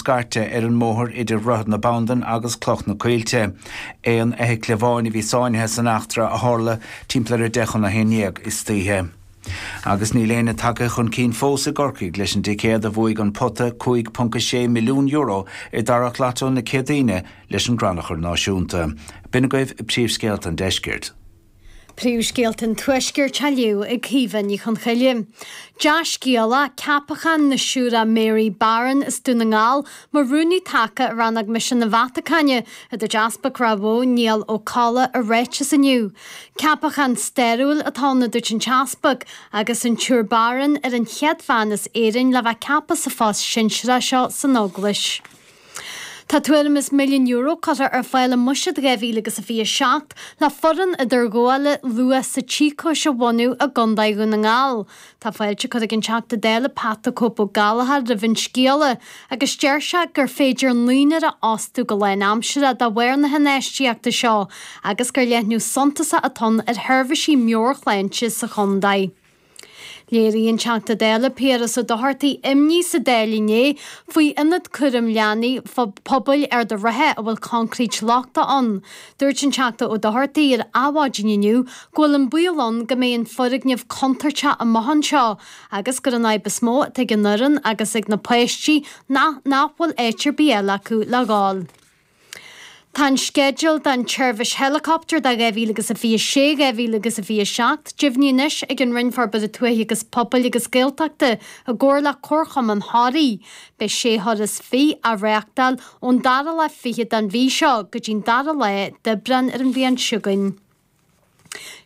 scairte ar an mbóthar idir Dhroichead na Bandan agus Cloch na Coillte. Aon fheithicil amháin a bhí sáinnithe san eachtra a tharla timpeall ar 10:50 istoíche. Agus níl éinne tagtha chun cinn fós i gCorcaigh leis an dticéad a bhuaigh an pota €5.6 milliún i dtarrac Lotto na Céadaoine leis an gCrannchur Náisiúnta. B'in agaibh príomhscéalta an deiscirt. Príomhscéalta an Tuaiscirt á léamh ag Caoimhe Ní Chonchoille. Dea-scéala, ceapachán na Siúire Mary Barron as Dún na nGall mar Rúnaí Taca i Rannóg Misean na Vatacáine, a dúirt Easpag Ráth Bhoth, Niall Ó Colla i ráiteas inniu. Ceapachán stairiúil atá ann, a dúirt an tEaspag, agus an tSiúr Barron ar an chéad bhean as Éirinn le bheith ceaptha sa phost sinsearach seo san Eaglais. Tá tuairim is €1 milliún curtha ar fáil i mBuiséad 2027 le foireann idirghabhála luath sa tsíocóis a bhunú i gContae Dhún na nGall. Tá fáilte curtha ag an Teachta Dála Pat the Cope Ó Gallchóir roimh an scéala agus deir sé gur féidir naonúr a fhostú go lánaimseartha de bharr na hinfheistíochta seo agus gur leathnú suntasach atá ann ar sheirbhísí meabhairshláinte sa chontae. Léirigh an Teachta Dála Piaras Ó Dochartaigh imní sa Dáil inné faoi ionad cúraim leanaí pobail Ard a' Rátha a bhfuil coincréit lochtach ann. Dúirt an Teachta Ó Dochartaigh ar Adhmhaidin inniu go bhfuil an baol ann go mbeidh an foirgneamh contúirteach amach anseo agus gur an fhadhb is mó atá ag an fhoireann agus ag na páistí ná nach bhfuil áit ar bith eile acu le dhul. Tá an sceideal don tseirbhís héileacaptair do 2026, 2027 deimhnithe anois ag an Roinn Forbartha Tuaithe agus Pobail agus Gaeltachta i gcomhar le Comharchumann Thoraí. Beidh sé thuras fiche á reáchtáil ón dara lá fichead den mhí seo go dtí'n dara lá d'Aibreán ar an bhliain seo chugainn.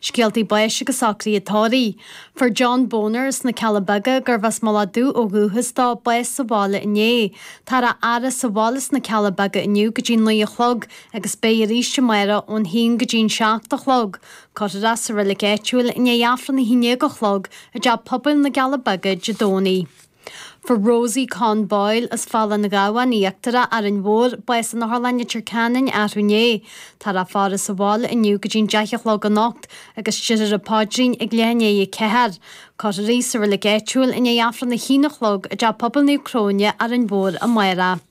Scéaltaí báis agus socruithe tórraimh. Fuair John Boner as na Cealla Beaga, gurbh as Mullach Dubh ó dhúchas dó, bás sa bhaile inné. Táthar á fhaire sa bhaile sna Cealla Beaga inniu go dtí 9 a chlog agus beidh arís amárach ón haon go dtí'n 7 a chlog. Cuirfear é sa reilig áitiúil i ndiaidh Aifreann a haon déag a chlog i dTeach Pobail na gCealla Beaga Dé Domhnaigh. Fuair Rosie Con Boyle as Falla an Ghabháin Íochtarach, Árainn Mhór, bás in Otharlann Leitir Ceanainn arú inné. Táthar á faire sa bhaile inniu go dtí'n 10 a chlog anocht agus déarfar an paidrín ag leath i ndiaidh a ceathair. Cuirfear í sa reilig áitiúil i ndiaidh Aifreann a haon a chlog i dTeach Pobail Naomh Cróine, Árainn Mhór amárach.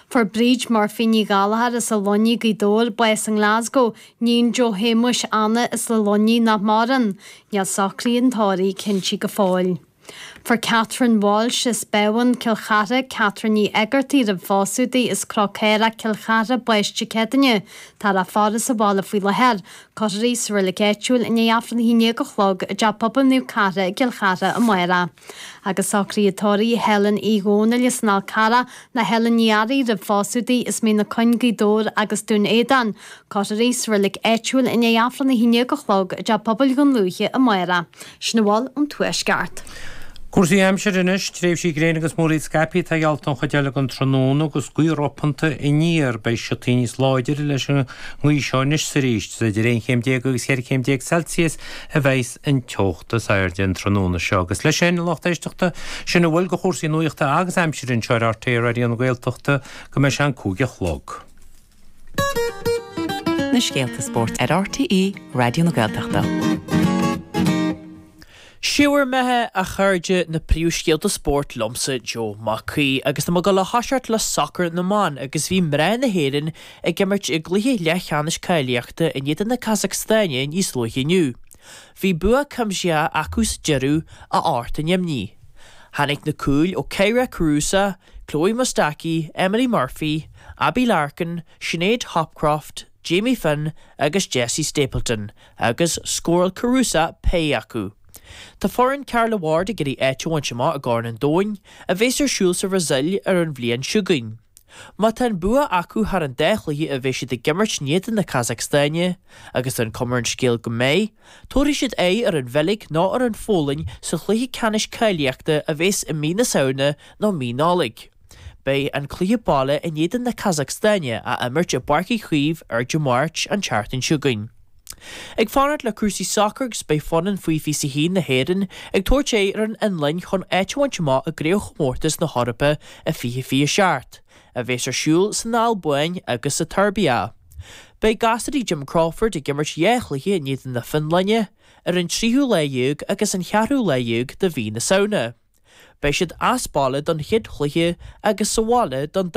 Fuair Bríd Murphy Ní Ghallchóir as an Luinnigh, Gaoth Dobhair, bás i nGlasgow, níon Joe Shéamuis Anna as an Luinnigh nach maireann. Níl socruithe an tórraimh cinnte go fóill. Fuair Catherine Walsh as Beamhan, Cill Chartha, Catherine Ní Éigeartaigh roimh phósadh di as Cnoc Caorach, Cill Chartha, bás Dé Céadaoine. Táthar á faire sa bhaile faoi láthair. Cuirfear í sa reilig áitiúil i ndiaidh Aifreann 11 a chlog i dTeach Pobail Naomh Cartha i gCill Chartha amárach. Agus socruithe tórraimh Helen Uí Dhónaill as an Fhál Carrach nó Helen Ní Fhearraigh roimh phósadh di as Mín na Coinn, Gaoth Dobhair agus Dún Éideann. Cuirfear í sa reilig áitiúil i ndiaidh Aifreann 11 a chlog i dTeach Pobail Dhún Lúiche amárach. Sin a bhfuil ón Tuaisceart. Cúrsaí aimsire anois, tréimhsí gréine agus múraíl scaipthe atá geallta don chuid eile den tráthnóna agus gaoth ropanta aniar. Beidh siotaí níos láidire leis an ngaoth seo anois is arís. Is idir 11 chéim agus 14 chéim Celsius a bheidhs an teocht is airde an tráthnóna seo. Agus leis sin, a lucht éisteachta, sin a bhfuil de chúrsaí nuachta agus aimsire anseo ar RTÉ Raidió na Gaeltachta go mbeidh sé an 5 a chlog. Na scéalta spóirt ar RTÉ Raidió na Gaeltachta. Sé bhur mbeatha, a chairde, na príomhscéalta spóirt liomsa, Joe Mac Aoidh, agus tá muid ag dul a thoiseacht le sacar na mban agus bhí mná na hÉireann ag imirt i gcluiche leathcheannais cáilíochta in éadan na Casacstáine níos luaithe inniu. Bhí bua cuimsitheach acu sa deireadh, a fhág an imní. Tháinig na cúil ó Kyra Carusa, Chloe Mustaki, Emily Murphy, Abbie Larkin, Sinead Hopcroft, Jamie Finn agus Jessie Stapleton agus scóráil Carusa péire acu. Tá foireann Carla Ward ag iarraidh áit a bhaint amach i gCorn an Domhain, a bheas ar siúl sa Bhrasaíl ar an bhliain seo chugainn. Má tá an bua acu thar an dá chluiche a bheidh siad ag imirt in éadan na Casacstáine, agus tá an cuma ar an scéal go mbeidh, tabharfaidh siad aghaidh ar an Bheilg nó ar an Pholainn sa chluiche ceannais cáilíochta a bheas i mí na Samhna nó mí Nollag. Beidh an cluiche baile in éadan na Casacstáine á imirt i bPáirc Uí Chaoimh ar Dé Máirt an tseachtain seo chugainn. Ag fanacht le cúrsaí sacair agus beidh foireann faoi 21 na hÉireann ag tabhairt aghaidh ar an Fhionlainn chun áit a bhaint amach i gCraobhchomórtas na hEorpa i 2027, a bheas ar siúl san Albáin agus sa tSeirbia. Beidh gasúirí Jim Crawford ag imirt dhá chluiche in éadan na Fionlainne, ar an tríú lá dhéag agus an cheathrú lá dhéag de mhí na Samhna. Beidh siad as baile don chéad chluiche agus sa bhaile don.